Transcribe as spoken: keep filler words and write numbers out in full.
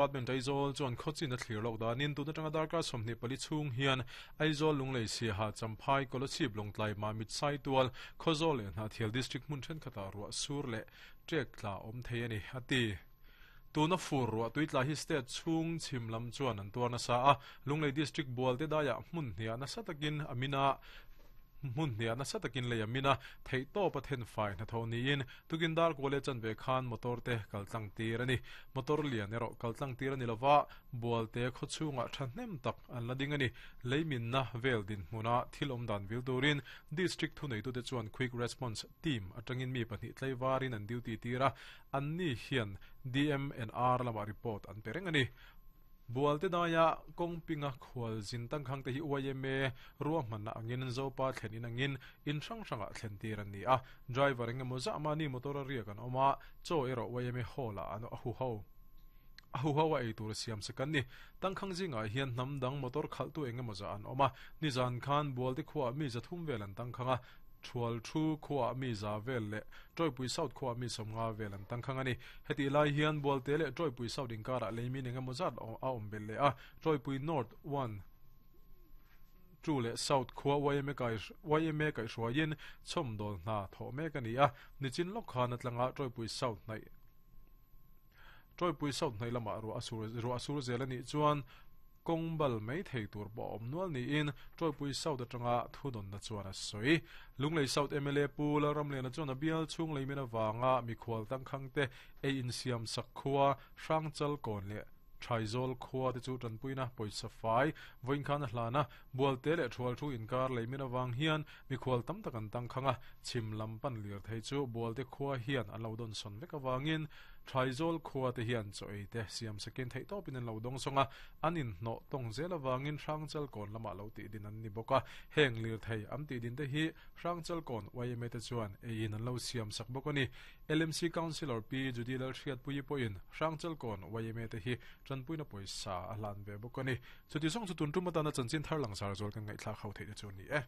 Department Aizawl chuan khawchin a thlir lawk danin tun atanga darkar sawmhnih pali chhung hian Aizawl Lunglei Siaha Champhai Kolasib Lawngtlai Mamit Saitual Khawzawl leh Hnahthial District hmun thenkhatah ruah sur leh ṭek tla awm thei a ni a ti. Tuna fur ruah tui tla hi state chhung chhim lam chuan an tuar nasa a, Lunglei District Bualte daiah hmun hniah nasa takin a min a, hmun hniah nasa takin lei a min a, theih tawp a then fai hnathawh niin tukin dar kual leh chanve khan motor te kal tlang tir a ni. Motor lian erawh kal tlang tir a ni lova, Bualte khaw chhungah thahnem tak an la ding a ni. Lei minna vel dinhmuna thil awm dan vil turin District thuneitute chuan Quick Response Team atangin mi pahnih tlaivarin an duty tir a, an ni hian D M and R lamah report an pe reng a ni. Bualte daia kawngpinga khual zin tangkhang te hi Y M A ruahmanna angin Zopa thlen in angin in hrang hrangah thlen tir an ni a, driver engemaw zah mahni motor a riak an awm a, chaw erawh Y M A hall ah an a hu ho. A hu ho a ei tur siam sak an ni. Tangkhang zingah hian hnam dang motor khalhtu engemaw zah an awm a, nizan khan Bualte khuaah mi zathum vel an tangkhang a, Thual thu khuaah mi za vel leh Tawipui South khuaah mi sawmnga vel an tangkhang a ni. Hetih lai hian Bualte leh Tawipui South inkarah leimin engemaw zat a awm belh leh a, Tawipui North one, two leh South khua Y M A kai Y M A kaihhruaiin chhawmdawl hna thawh mek a ni a, nichin lawk khan a tlanga Tawipui South hnaih Tawipui South hnaih lamah ruah a sur ruah a sur zel a nih chuan kawng bal mai thei tur pawh a awm nual niin Tawipui South atanga thudawnna chuan a sawi. Lunglei South M L A Pu Lalramliana chuan a bial chhung leimin avanga mikhual tangkhang te ei insiam sak khua Hrangchal kawn leh Thaizawlkhua te chu tanpuina pawisa fai vawiin khan a hlan a, Bualte leh Thual thu inkar leimin avang hian mikhual tam tak an tangkhang a, chhim lam pan lir thei chu Bualte khua hian an lo dawn sawn vek avangin Thaizawlkhua te hian chaw ei te siam sakin theih tawpin an lo dawng sawng a, an inhnawh tawng zel avangin Hrangchal kawn lamah lo tih din an ni bawk a, heng lir thei an tih din te hi Hrangchal kawn Y M A te chuan eiin an lo siam sak bawk a ni. L M C Councillor P Judy Lalhriatpuii pawhin Hrangchal kawn Y M A te hi tanpuina pawisa a hlan ve bawk a ni. Chuti zawng chu tun tum atana chanchin thar langsar zual kan ngaihthlak ho theih te chu a ni e.